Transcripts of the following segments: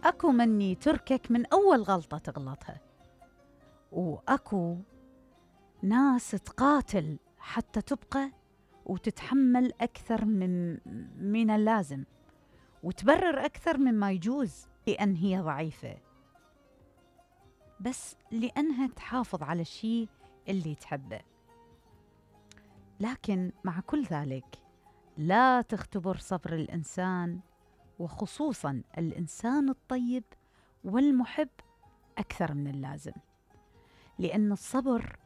أكو مني تركك من أول غلطة تغلطها، وأكو ناس تقاتل حتى تبقى وتتحمل أكثر من اللازم، وتبرر أكثر مما يجوز لأن هي ضعيفة، بس لأنها تحافظ على الشيء اللي تحبه. لكن مع كل ذلك لا تختبر صبر الإنسان، وخصوصاً الإنسان الطيب والمحب، أكثر من اللازم، لأن الصبر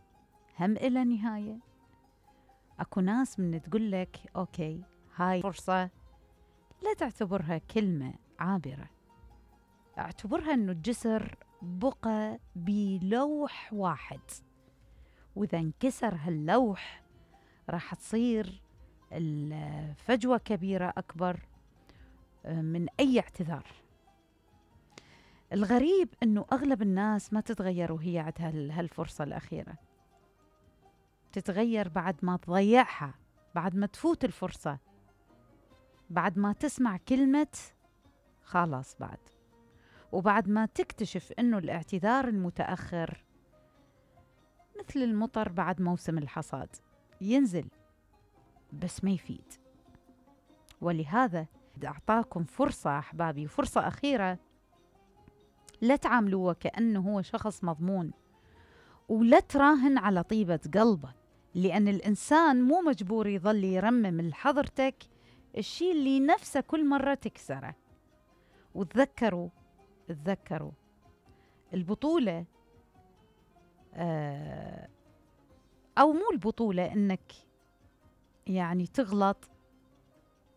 هم إلى نهاية. أكو ناس من تقول لك أوكي هاي فرصة، لا تعتبرها كلمة عابرة، اعتبرها أنه الجسر بقى بلوح واحد، وإذا انكسر هاللوح راح تصير الفجوة كبيرة أكبر من أي اعتذار. الغريب أنه أغلب الناس ما تتغير وهي عندها هالفرصة الأخيرة، تتغير بعد ما تضيعها، بعد ما تفوت الفرصة، بعد ما تسمع كلمة خلاص بعد، وبعد ما تكتشف أنه الاعتذار المتأخر مثل المطر بعد موسم الحصاد، ينزل بس ما يفيد. ولهذا أعطاكم فرصة أحبابي، فرصة أخيرة، لا تعاملوه كأنه هو شخص مضمون، ولا تراهن على طيبة قلبه، لأن الإنسان مو مجبور يظل يرمم لحضرتك الشيء اللي نفسه كل مرة تكسره. وتذكروا البطولة أو مو البطولة إنك يعني تغلط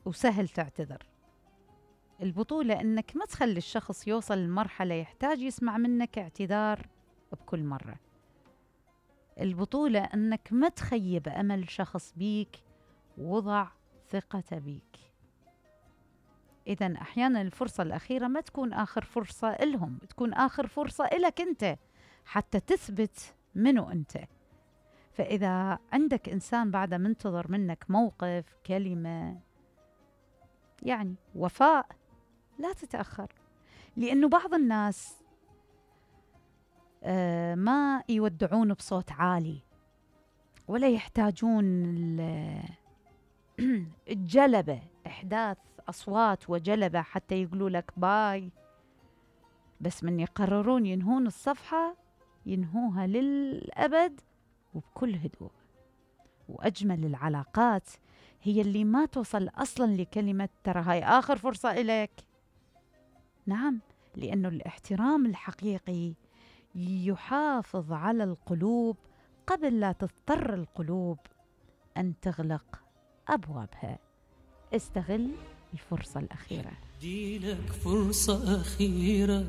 وسهل تعتذر، البطولة إنك ما تخلي الشخص يوصل لمرحلة يحتاج يسمع منك اعتذار بكل مرة. البطولة إنك ما تخيب أمل شخص بيك وضع ثقته بيك. إذن أحيانا الفرصة الأخيرة ما تكون آخر فرصة إلهم، تكون آخر فرصة إلك أنت حتى تثبت منو أنت. فإذا عندك إنسان بعد منتظر منك موقف، كلمة، يعني وفاء، لا تتأخر، لأنه بعض الناس ما يودعون بصوت عالي، ولا يحتاجون الجلبة، إحداث أصوات وجلبة حتى يقولوا لك باي، بس من يقررون ينهون الصفحة ينهوها للأبد وبكل هدوء. وأجمل العلاقات هي اللي ما توصل أصلا لكلمة ترى هاي آخر فرصة إليك. نعم، لأنه الاحترام الحقيقي يحافظ على القلوب قبل لا تضطر القلوب أن تغلق أبوابها. استغل الفرصة الأخيرة. دي لك فرصة أخيرة.